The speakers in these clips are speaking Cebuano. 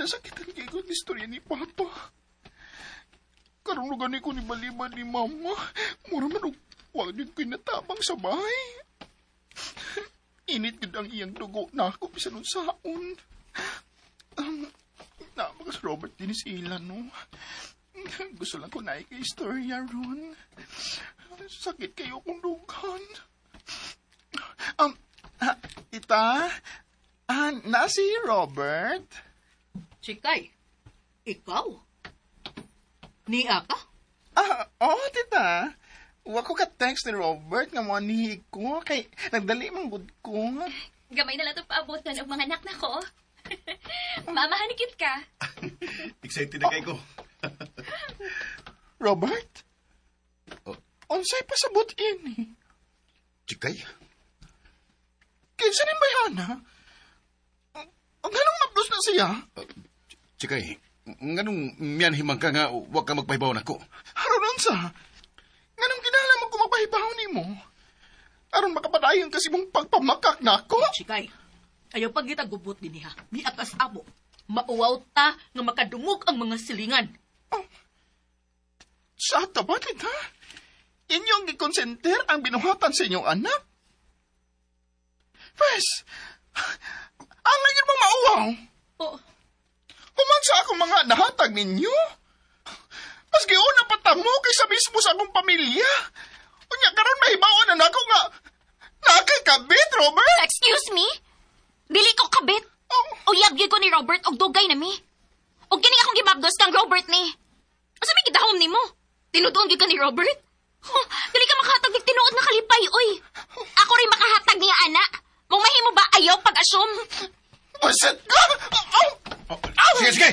Nasakitan kay ko ni istorya ni Papa. Karon gani ko ni baliban ni Mama. Mura man og wa gyud ko'y natabang sa bahay. Init gud ang iyang dugo na ako bisan unsaon. Naa ba si Robert din sila, no? Gusto lang ko na kay istorya ron. Sakit kayo kung dughan. Tita, na si Robert? Chikay, ikaw? Nia ka? Ah, oh, tita. Wa ko ka-text ni Robert nga mo ko kay nagdali man gud ko. Gamay na lang ito paabotan og mga anak na ko. Mama, hanikit ka. Excited na kay ko. Robert? Oh. Unsay pasabot ini? Chikay? Kinsa ni bayhana? Ang ganong mablos na siya? Chikay, nganong miyanhimang ka nga wa ka magpahibaw nako? Aron unsa? Nganong kinahanglan mo ko magpahibaw nimo? Aron makapadayon kasi mong pagpamakak nako? Chikay, ayaw pagita gubot din niya. Miakas amo. Mauwaw ta nga makadungog ang mga silingan. Oh. Sa ba, tita? Inyong gikonsenter ang binuhatan sa inyong anak? First, ang ngayon mo mauwaw. Oh. Human sa akong mga nahatag ninyo. Mas giuna pa tamo kaysa mismo sa akong pamilya. Unya karon mahibaon na nako nga nakay kabit, Robert. Excuse me? Dili ko kabit. Oh. Uyab gyud ko ni Robert og dugay na mi. Og kini akong gibabdos kang Robert ni. Asa may gidahom nimo? Tinutuon gyud ka ni Robert? Huh, dili ka makahatag og tinuod nga kalipay, oy. Ako rin makahatag niya, ana. Kung mahimo ba ayaw pag-assume? Usit ka! Oh, Oh, sige, sige!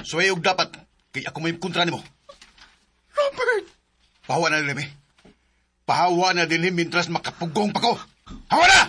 Suway og dapat, kay ako may kontra nimo. Robert! Pahawa na din, eh. Pahawa na din, mintras makapugong pa ko. Hawa na!